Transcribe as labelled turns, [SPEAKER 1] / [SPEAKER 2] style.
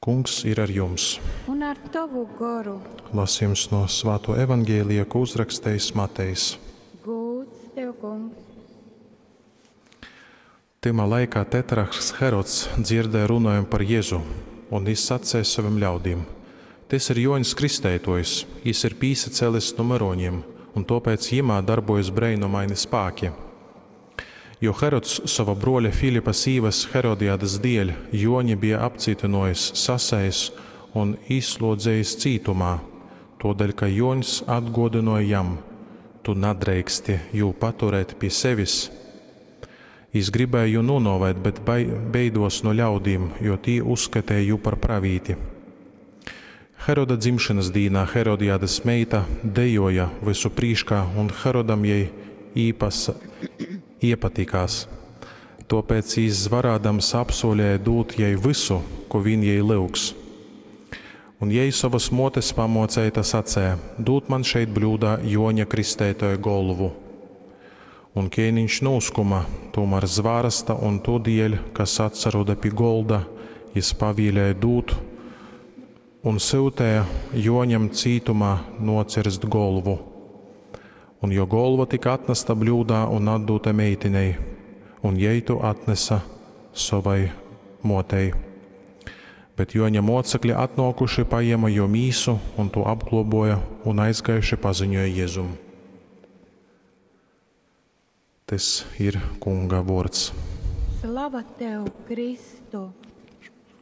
[SPEAKER 1] Kungs ir ar jums!
[SPEAKER 2] Un ar tovu goru.
[SPEAKER 1] Lasejums no Svātuo Evangelija, ko uzrakstejis Matejs.
[SPEAKER 2] Gūds tev, Kungs!
[SPEAKER 1] Tymā laikā tetrarhs Herods dzierdēja runojam par Jezu, un jis saceja sovim ļaudīm, Tys ir Jōņs Kristeitōjs, jys ir pīsacēlis nu myrūņim, un tōpēc jymā darbojas breinumaini spāki. Jo Herods sova brōļa Filipa sīvas Herodiadas dieļ Jōņi bie apcītynōjis, sasējis un īslūdzejis cītumā, tōdēļ ka Jōņs atgōdynōja jam, Tu nadreiksti jū paturēt pi sevis. Jys gribēja jū nūnōvēt, bet beidōs nu ļaudīm, jo tī uzskateja jū par pravīti. Heroda dzimšonas dīnā Herodiadas meita dejōja vysu prīškā, un Herodam jei īpasa, iepatikās. Tōpēc jys zvarādams apsūleja dūt jai vysu, kū vīn jei lyugs. Un jei, sovas mōtes pamōceita, saceja, Dūd man šeit bļūdā Jōņa Kristeitōja golvu. Un kēniņš nūskuma, tūmār zvārasta un tū dieļ, kas atsaroda pi golda, jys pavielēja dūt un syuteja Jōņam cītumā nocierst golvu. Un jō golva tyka atnasta bļūdā un atdūta meitinei, un jei tū atnesa sovai mōtei. Bet Jōņa mōcekli atnōkuši pajēma jō mīsu un tū apglobōja un aizgājuši paziņoja Jezum. Tys ir Kunga vōrds.
[SPEAKER 2] Slava tev, Kristu!